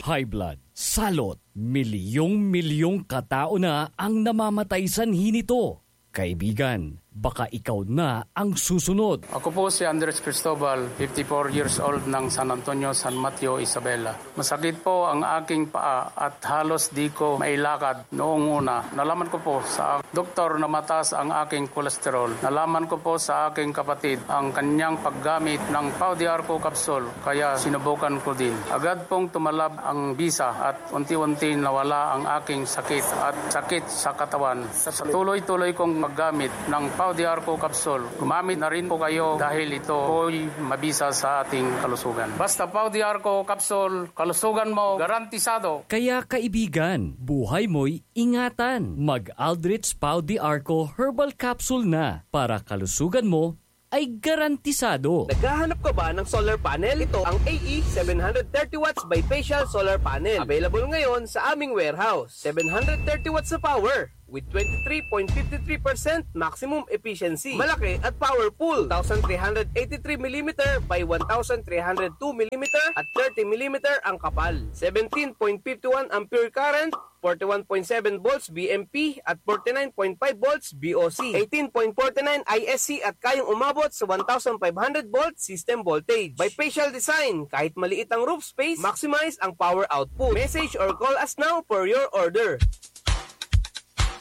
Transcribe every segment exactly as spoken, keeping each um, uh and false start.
high blood, salot, milyong-milyong katao na ang namamatay sanhi nito. Kaibigan, baka ikaw na ang susunod. Ako po si Andres Cristobal, fifty-four years old, ng San Antonio, San Mateo, Isabela. Masakit po ang aking paa at halos di ko mailakad noong una. Nalaman ko po sa doktor na mataas ang aking kolesterol. Nalaman ko po sa aking kapatid ang kanyang paggamit ng Pau de Arco capsule, kaya sinubukan ko din. Agad pong tumalab ang bisa at unti-unti nawala ang aking sakit at sakit sa katawan. Sa tuloy-tuloy kong paggamit ng Pau de Arco capsule, gumamit na rin po kayo dahil ito po'y mabisa sa ating kalusugan. Basta Pau de Arco capsule, kalusugan mo garantisado. Kaya kaibigan, buhay mo'y ingatan. Mag-Aldrich Pau de Arco Herbal Capsule na para kalusugan mo ay garantisado. Naghahanap ka ba ng solar panel? Ito ang A E seven hundred thirty watts bifacial solar panel. Available ngayon sa aming warehouse. Seven hundred thirty watts na power with twenty-three point fifty-three percent maximum efficiency. Malaki at powerful. Two thousand three hundred eighty-three millimeter by one thousand three hundred two millimeter at thirty millimeter ang kapal. Seventeen point fifty-one ampere current, forty-one point seven volts B M P at forty-nine point five volts B O C, eighteen point forty-nine I S C at kayang umabot sa one thousand five hundred volt system voltage. Bifacial design, kahit maliit ang roof space, maximize ang power output. Message or call us now for your order.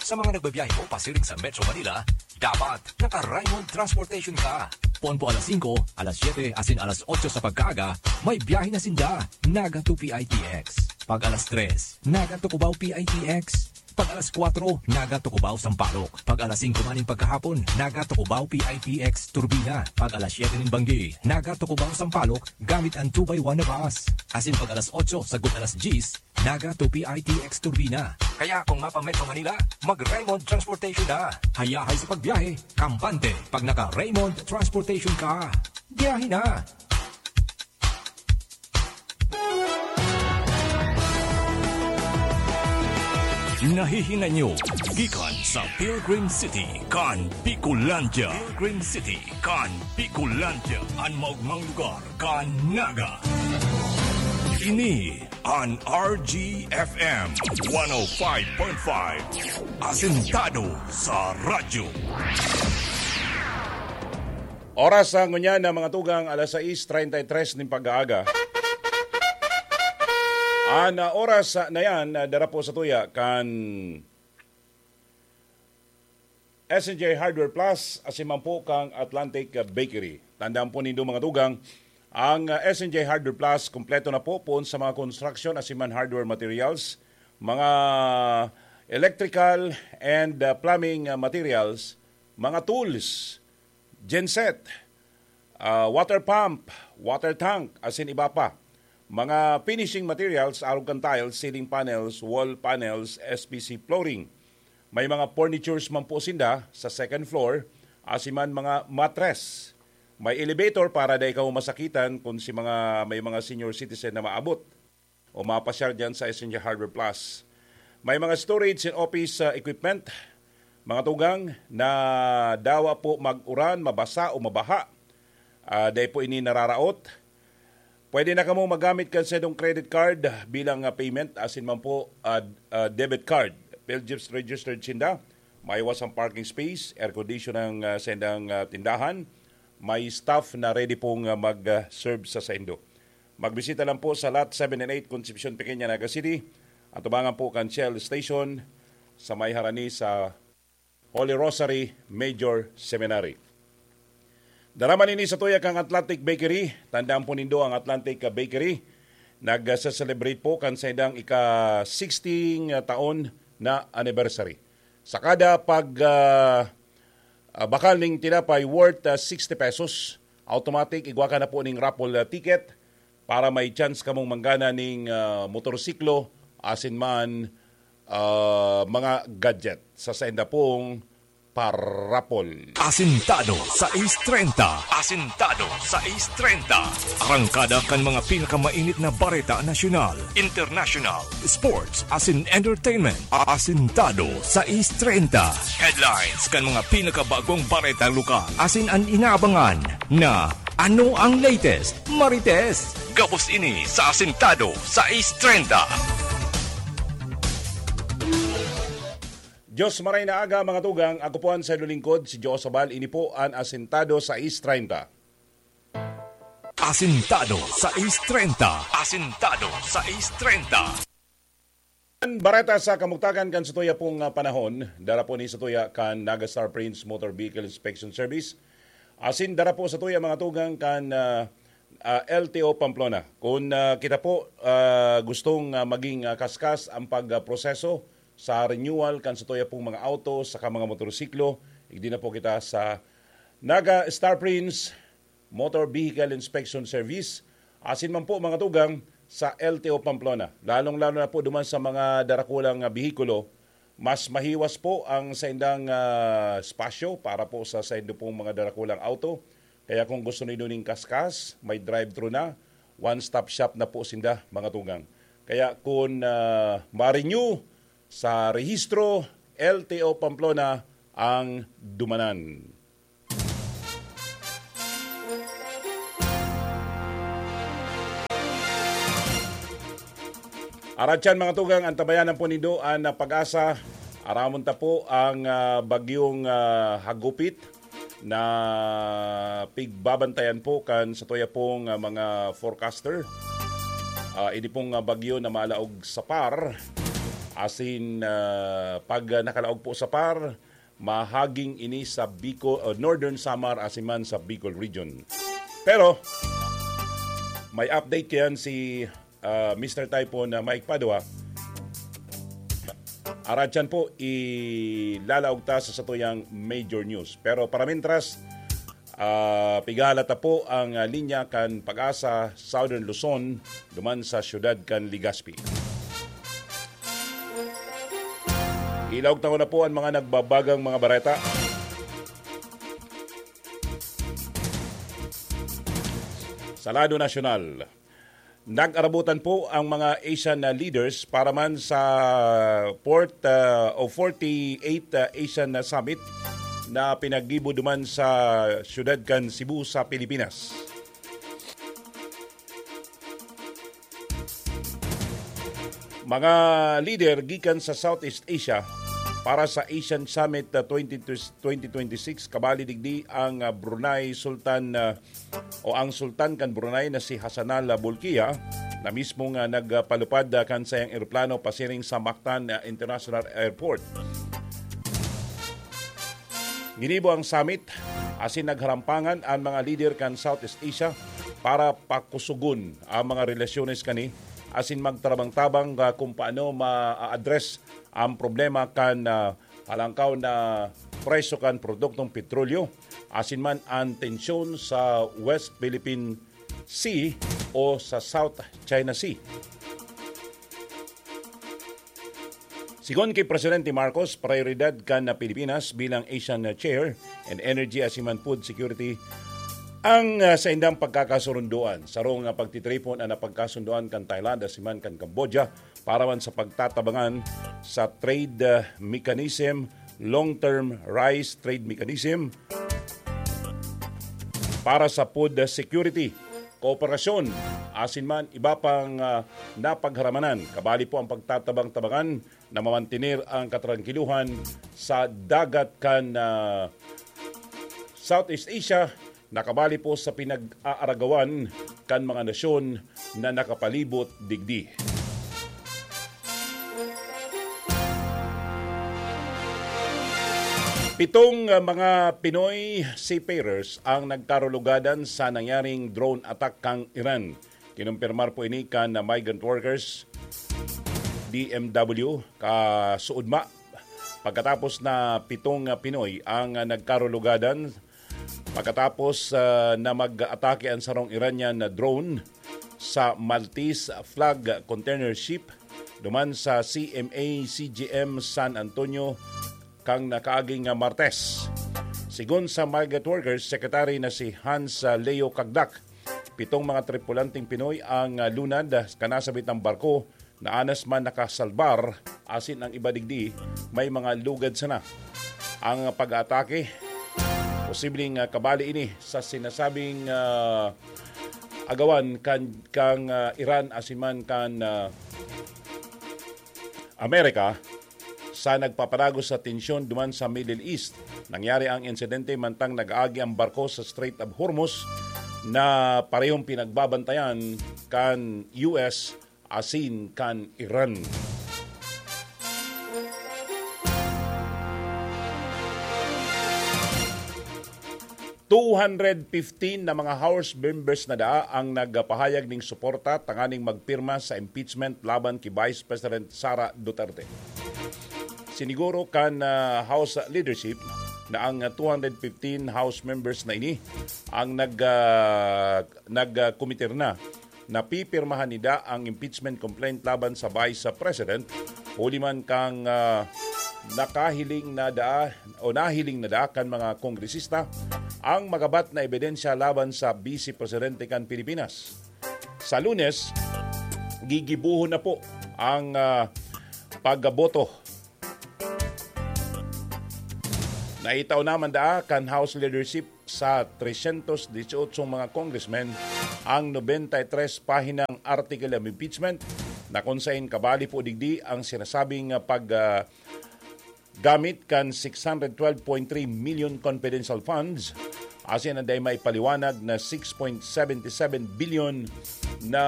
Sa mga nagbabiyahe po pasiring sa Metro Manila, dapat naka-Raymond Transportation ka. Ponpo alas singko, alas siyete, asin alas otso sa pagkaaga, may biyahe na sinda. Naga to P I T X. Pag alas tres, Naga to Cubao P I T X. Pag alas kwatro, Naga to Cubao Sampaloc. Pag alas singko man nin pagkahapon, Naga to Cubao P I T X Turbina. Pag alas siyete nin banggi, Naga to Cubao Sampaloc, gamit an two by one na bus. Asin pag alas otso sagkod alas dyes, Naga to P I T X Turbina. Kaya kung mapa-Metro Manila, mag-Raymond Transportation na. Hayahay sa pagbiyahe, kampante pag naka-Raymond Transportation ka. Biyahe na! Nahihinay nyo gikan sa Pilgrim City kan Bicolandia. Pilgrim City kan Bicolandia, an maogmang lugar kan Naga. Ini an R G F M one oh five point five, asentado sa radyo. Oras sa ngunyan na mga tugang, alas sais treinta y tres nin pag-aaga. An, ah, oras, ah, na yan, ah, dara po sa tuya kan S and J Hardware Plus, asin man po kang Atlantic Bakery. Tandaan po nindo, mga tugang, ang, ah, S and J Hardware Plus, kompleto na po poon sa mga construction asin man hardware materials, mga electrical and, ah, plumbing, ah, materials, mga tools, genset, ah, water pump, water tank, asin iba pa. Mga finishing materials, arog kan tiles, ceiling panels, wall panels, S P C flooring. May mga furnitures man po sinda sa second floor, asin man mga mattress. May elevator para dai kamo masakitan kun si mga, may mga senior citizen na maabot o mapasyal diyan sa Essential Hardware Plus. May mga storage and office, ah, equipment, mga tugang, na dawa po mag-uran, mabasa o mabaha. Ah, dai po ini nararaot. Pwede na kamo magamit kan saindong credit card bilang, ah, payment, asin man po, ah, ah, debit card. PhilGift registered sinda. May iwas ang parking space, air condition ang, ah, saindang, ah, tindahan. May staff na ready pong, ah, mag, ah, serve sa saindo. Magbisita lang po sa Lot seven and eight, Concepcion, Pequeña, Naga City. Atubangan po kan Shell Station sa may harani sa Holy Rosary Major Seminary. Dara man ini sa tuya kan Atlantic Bakery. Tandaan po nindo ang Atlantic Bakery. Nag-celebrate po kan saindang ika-sixty taon na anniversary. Sa kada pag, ah, ah, bakal ning tinapay worth, ah, sixty pesos, automatic, igwa ka na po ning raffle, ah, ticket para may chance kamong manggana ning, ah, motorsiklo, asin man, ah, mga gadget sa sainda pong parapol. Asintado sais treinta. Asintado sais treinta. Arangkada kan mga pinakamainit na bareta nasyonal, international, sports, asin entertainment. Asintado sais treinta. Headlines kan mga pinakabagong bareta lokal, asin an inaabangan na Ano ang latest, Marites? Gabos ini sa Asintado sais treinta. Diyos maray na aga, mga tugang. Ako po ang sayo lingkod, si Joe Sabal. Ini po ang Asintado sais treinta. Asintado sais treinta. Asintado sais treinta. Bareta sa kamugtakan kan satuya pong, ah, panahon, dara po ni satuya kan Naga Star Prince Motor Vehicle Inspection Service. Asin dara po satuya, mga tugang, kan, ah, ah, L T O Pamplona. Kung, ah, kita po, ah, gustong, ah, maging, ah, kaskas ang pag, ah, proseso sa renewal kan satuya pong mga auto saka mga motorsiklo, igdi na po kita sa Naga Star Prince Motor Vehicle Inspection Service, asin man po, mga tugang, sa L T O Pamplona. Lalong-lalo na po duman sa mga darakulang, ah, behikulo, mas mahiwas po ang saindang, ah, espasyo para po sa saindo pong mga darakulang auto. Kaya kung gusto nindo ning kaskas, may drive-thru na, one-stop shop na po sinda, mga tugang. Kaya kung, ah, ma-renew sa rehistro, L T O Pamplona ang dumanan. Aratyan, mga tugang, antabayanan po nindo an, ah, Pag-asa. Aramon ta po ang, ah, bagyong, ah, hagupit na pigbabantayan po kan satuya pong, ah, mga forecaster. Ah, ini pong, ah, bagyo na malaog sa par. Asin, ah, pag, ah, nakalaog po sa par, mahaging ini sa Bicol, o Northern Samar, asin man sa Bicol Region. Pero, may update kayan si, ah, Mister Typhoon na Mike Padua. Aratyan po, ilalaog ta sa satuyang major news. Pero para mintras, ah, pigahalat ta po ang, ah, linya kan Pag-asa Southern Luzon, duman sa siyudad kan Legazpi. Ilaog ta na po ang mga nagbabagang mga bareta. Sa lado nasyonal, nag-arabutan po ang mga Asian, ah, leaders para man sa fourth, ah, o forty-eighth, ah, Asian, ah, Summit na pinaggibo duman sa siyudad kan Cebu sa Pilipinas. Mga lider gikan sa Southeast Asia para sa Asian Summit, ah, twenty, twenty twenty-six, kabali digdi ang, ah, Brunei Sultan, ah, o ang Sultan kan Brunei na si Hassanal Bolkiah, na mismo nga nagpalupad, ah, kan sayang eroplano pasiring sa Mactan, ah, International Airport. Ginibo ang summit, asin nagharampangan an mga lider kan Southeast Asia para pakusogon ang mga relasyones kani, asin magtabang-tabang, ah, kung paano ma-address ang problema kan, ah, halangkaw na presyo kan produktong petrolyo, asin man ang tensyon sa West Philippine Sea o sa South China Sea. Sigon ki Presidente Marcos, prayoridad kan Pilipinas bilang Asian Chair in Energy asin man Food Security ang, ah, saindang pagkakasurundoan. Sarong, ah, pagtitripon an napagkasundoan kan Thailand asin man kan Cambodia para man sa pagtatabangan sa trade, ah, mechanism, long-term rice trade mechanism, para sa food security, kooperasyon, asin man iba pang, ah, napagharamanan. Kabali po ang pagtatabang-tabangan na mamantener ang katrangkiluhan sa dagat kan, ah, Southeast Asia, na kabali po sa pinag-aaragawan kan mga nasyon na nakapalibot digdi. Pitong, ah, mga Pinoy seafarers ang nagkarulugadan sa nangyaring drone attack kan Iran. Kinumpirmar po ini kan, ah, Migrant Workers, D M W, kasuodma. Pagkatapos na pitong, ah, Pinoy ang, ah, nagkarulugadan pagkatapos, ah, na mag-atake ang sarong Iranian na drone sa Maltese flag container ship duman sa C M A C G M San Antonio kan nakaaging, ah, Martes. Sigon sa Migrant Workers Secretary na si Hans, ah, Leo Cagdac, pitong mga tripulanteng Pinoy ang, ah, lunad, ah, kan nasabitang barko na anas man nakasalbar, asin ang iba digdi may mga lugad sana. Ang pag-aatake o posibleng, ah, kabali ini sa sinasabing, ah, agawan kan, kang, ah, Iran asin man kan, ah, Amerika sa nagpapadagos sa tensyon duman sa Middle East. Nangyari ang insidente mantang nag-aagi ang barko sa Strait of Hormuz na parehong pinagbabantayan kan U S asin kan Iran. Two hundred fifteen na mga House members na daa ang nagpahayag ning suporta tanganing magpirma sa impeachment laban ki Vice President Sara Duterte. Siniguro kan, ah, House leadership na ang two hundred fifteen House members na ini ang nag, ah, nagkomitir na na pipirmahan nida ang impeachment complaint laban sa Vice President, huli man kang, ah, nakahiling na daa o nahiling na daa kan mga kongresista ang magabat na ebidensya laban sa Vice Presidente kan Pilipinas. Sa Lunes, gigibuhon na po ang, ah, pagboto. Naitao naman daa kan House leadership sa tresyentos dieciocho mga congressmen ang nobenta y tres pahinang article of impeachment, na kung sain kabali po digdi ang sinasabing pag, ah, gamit kan six hundred twelve point three million confidential funds, asin an dai maipaliwanag na six point seven seven billion na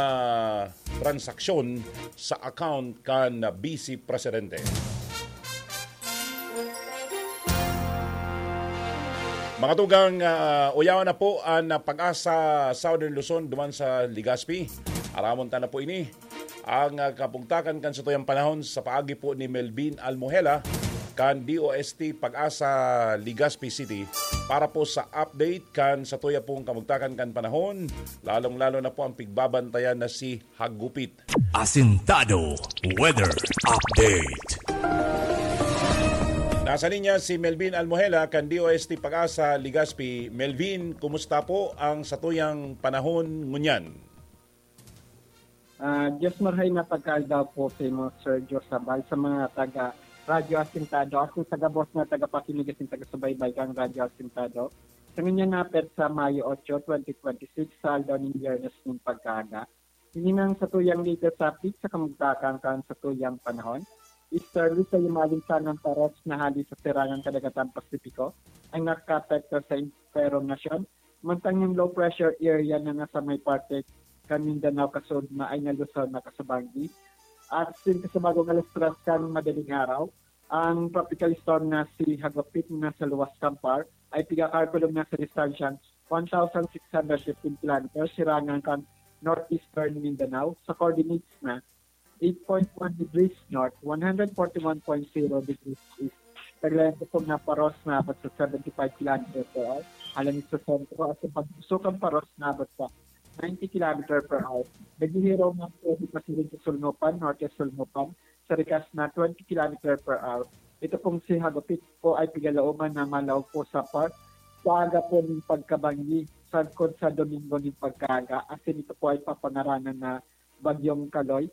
transaksyon sa account kan Vice Presidente. Mga tugang, ah, uyawan na po an, ah, Pag-asa Southern Luzon duman sa Legazpi. Aramon ta na po ini. Ang, ah, kapugtakan kan satuyang panahon sa paagi po ni Melvin Almohela kan D O S T Pag-asa, Legazpi City, para po sa update kan satuya pong kamugtakan kan panahon, lalong-lalo na po ang pigbabantayan na si Hagupit. Asintado Weather Update. Nasa linya si Melvin Almohela kan D O S T Pag-asa, Legazpi. Melvin, kumusta po ang satuyang panahon ngunyan? Ah, Diyos marhay na pagkaadlaw po sa imo, Sir Josabal, sa mga taga Radyo Asintado, asin sa gabos na tagapakinig asin taga-subaybay kan Radyo Asintado. Sa ngunyan na petsa, Mayo otso, twenty twenty-six, sa aldaw nin Biyernes nin pagkaaga. Ini nang satuyang latest update sa kamugtakan kan satuyang panahon. Easterly sa himaling sanang paros na hali sa sirangan kadagatan Pasipiko ang nakakaapekto sa entero nasyon, mantang yung low pressure area na nasa may parte kan Mindanao kasud na ay nalusor na kasabanggi. At sin kasabagong alas tres kan madaling araw, ang tropical storm na si Hagupit na sa luwas kan PAR ay pigakalkulong na sa distansyang one thousand six hundred fifteen kilometers sirangan kan northeastern Mindanao sa coordinates na eight point one degrees north, one hundred forty-one point zero degrees east. Taglayan ko pong naparos na abot sa seventy-five kilometer per hour. Alang sa sentro at sa pagpusok ang paros na abot sa ninety kilometer per hour. Naghihiraw na po di pasiring sa Sulnupan, Norte Sulnupan, sa rikas na twenty kilometer per hour. Ito pong si Hagupit po ay pigalaoman na malaog po sa park. Sa aga po ng pagkabanggi, sagkod sa Domingo ng pagkaaga, asin ito po ay papangaranan na Bagyong Kaloy.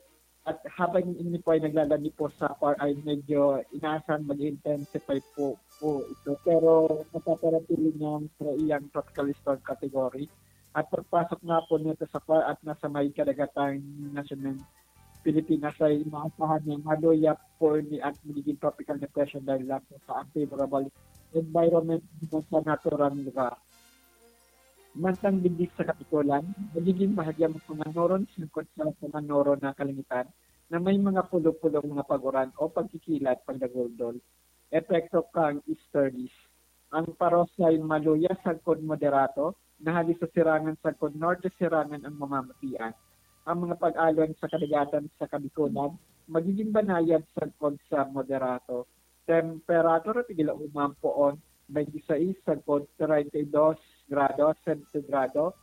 At habang ini po ay naglalandi po sa par ay medyo inaasahan mag-intensify po, po ito. Pero mapapanatili niyang sa iyang tropical storm category. At pagpasok nga po nito sa par at nasa may kadagatang nasyon ng Pilipinas ay inaasahan na maluya po ni at magiging tropical depression dahil lang po sa unfavorable environment dito sa naturang lugar. Mantang digdi sa Kapikulan, nagiging bahagya ang Panganoron sangkot sa Panganoron na kalangitan na may mga pulo-pulong mga pag-uran o pagkikilat pagdaguldol. Epekto kang easterlies. Ang paros ay maluya sagkod moderato, na hali sa sirangan sagkod norte sirangan ang mamamatian. Ang mga pag-alon sa kadagatan sa Kabikulan, magiging banayad sagkod sa moderato. Temperatura, tigil uman poon, twenty-six sagkod treinta y dos grado sentigrado.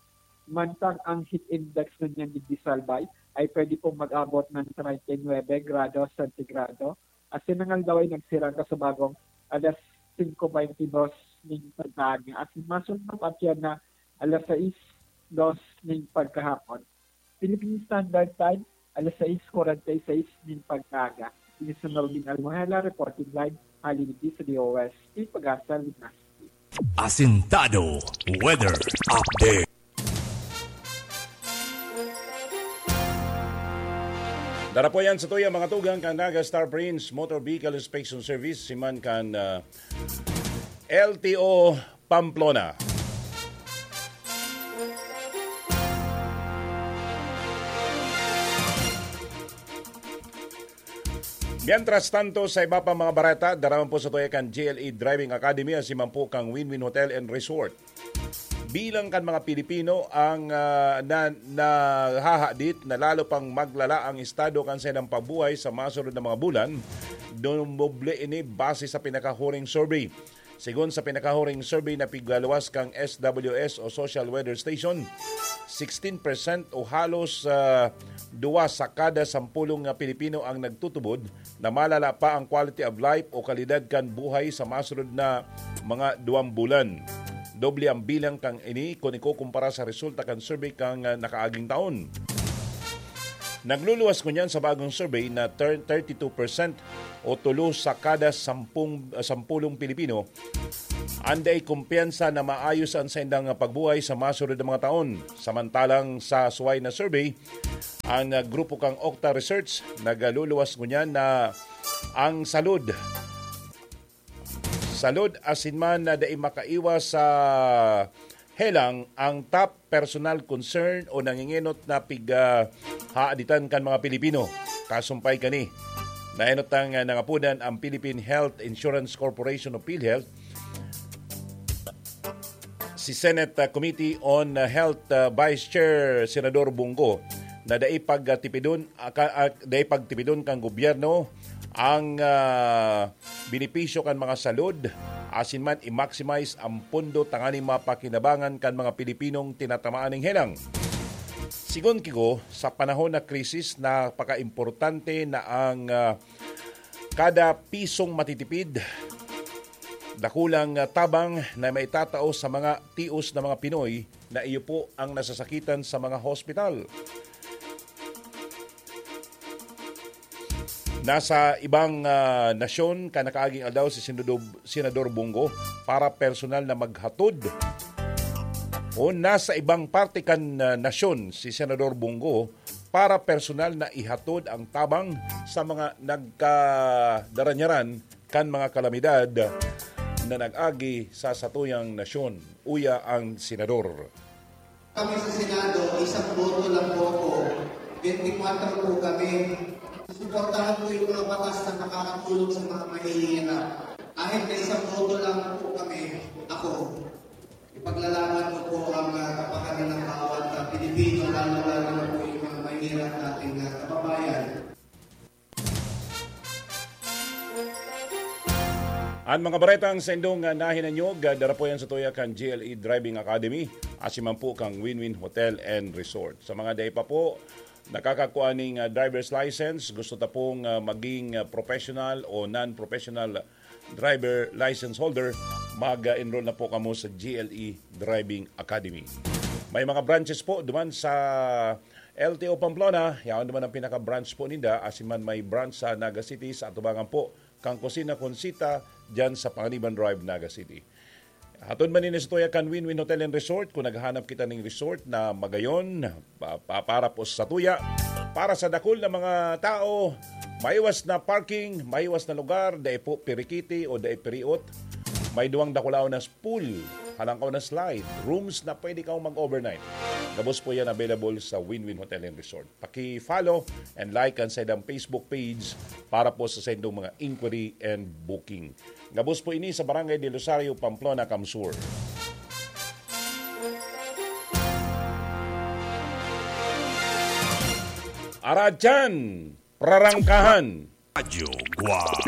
Mantang ang heat index ngunyan digdi sa Albay ay pwede pong mag-abot ng treinta y nuebe grado sentigrado. Asin ang aldaw ay nagsirang kasubagong alas singko beintidos ning pagkaaga. Asin masunod pa siya na alas sais dos ning pagkahapon. Philippine Standard Time, alas sais kwarenta y seis nin pagkaaga. Ini si Melvin Almohela, reporting live, hali digdi sa D O S T Pag-asa, Legazpi. Asintado Weather Update. Darapo yan sa tuya, mga tugang, kan Naga Star Prince Motor Vehicle Inspection Service, siman kan, ah, L T O Pamplona. Mientras tanto, sa iba pa mga bareta, daraman po sa tuya kan G L E Driving Academy, asiman po kang Win-Win Hotel and Resort. Bilang kan mga Pilipino ang, ah, na, nahahadit na lalo pang maglala ang estado kan saindang pagbuhay sa masunod na mga bulan, dumoble ini base sa pinakahuring survey. Sigon sa pinakahuring survey na pigluwas kang S W S o Social Weather Station, sixteen percent o halos, ah, duwa sa kada sampulong nga Pilipino ang nagtutubod na malala pa ang quality of life o kalidad kan buhay sa masunod na mga duwang bulan. Doble ang bilang kang ini kun ikukumpara sa resulta kan survey kang, ah, nakaaging taon. Nagluluwas ngunyan sa bagong survey na thir-, thirty-two percent o tulo sa kada sampung, ah, sampulong Pilipino ang dai kumpiyansa na maayos ang saindang pagbuhay sa masunod na mga taon. Samantalang sa suway na survey, ang, ah, grupo kang Okta Research nagluluwas ngunyan na ang salud, salud asin man na dai makaiwas sa helang ang top personal concern o nangingenot na pig, ah, haaditan kan mga Pilipino. Kasumpay kani, naenot ang, ah, nangapodan ang Philippine Health Insurance Corporation o PhilHealth, si Senate, ah, Committee on, ah, Health, ah, Vice Chair Senador Bong Go na dai pagtipidon, ah, ka, ah, dai pagtipidon kan gobyerno ang, ah, benepisyo kan mga salud, asin man i-maximize ang pondo tanganing mapakinabangan kan mga Pilipinong tinatamaan ning helang. Sigon ki Go, sa panahon na krisis, napakaimportante na ang, ah, kada pisong matitipid, dakulang, ah, tabang na maitatao sa mga tios na mga Pinoy na iyo po ang nasasakitan sa mga hospital. Nasa ibang, ah, nasyon kan nakaaging aldaw si Senador, Senador Bong Go para personal na maghatod. O nasa ibang parte kan, ah, nasyon si Senador Bong Go para personal na ihatod ang tabang sa mga nagkadaranyaran kan mga kalamidad na nag-agi sa satuyang nasyon. Uya ang senador. Kami sa Senado, isang boto lang po ako. Twenty-four po kami. Suportahan ko yung mga batas na makakatulong sa mga mahihirap. Kahit na isang boto lang po kami, ako, ipaglalaban ko po ang, ah, kapakanan ng bawat, ah, Pilipino, lalo-lalo na po yung mga mahihirap nating, ah, kababayan. An mga baretang saindong, ah, nahinanyog, ah, dara po yan sa tuya kan G L E Driving Academy, asin man po kang Win-Win Hotel and Resort. Sa mga dai pa po nakakakuha ning, ah, driver's license, gusto ta pong, ah, maging, ah, professional o non-professional driver license holder, mag-enroll na po kamo sa G L E Driving Academy. May mga branches po duman sa L T O Pamplona, yaon naman ang pinaka-branch po ninda, asin man may branch sa Naga City, sa atubangan po kan Kusina Conchita, dyan sa Panganiban Drive, Naga City. Hatod man ini sa tuya kan Win-Win Hotel and Resort. Kung naghahanap kita ning resort na magayon, pa, pa, para po sa tuya, para sa dakul na mga tao, maiwas na parking, maiwas na lugar, dai po pirikiti o dai piriot. May duwang dakulaon na pool, halangkaw na slide, rooms na pwede kang mag-overnight. Gabos po yan available sa Win-Win Hotel and Resort. Paki-follow and like ang saidang Facebook page para po sa saindong mga inquiry and booking. Gabos po ini sa Barangay del Rosario, Pamplona, Camsur. Aradyan, prarangkahan. Radyo Guwang.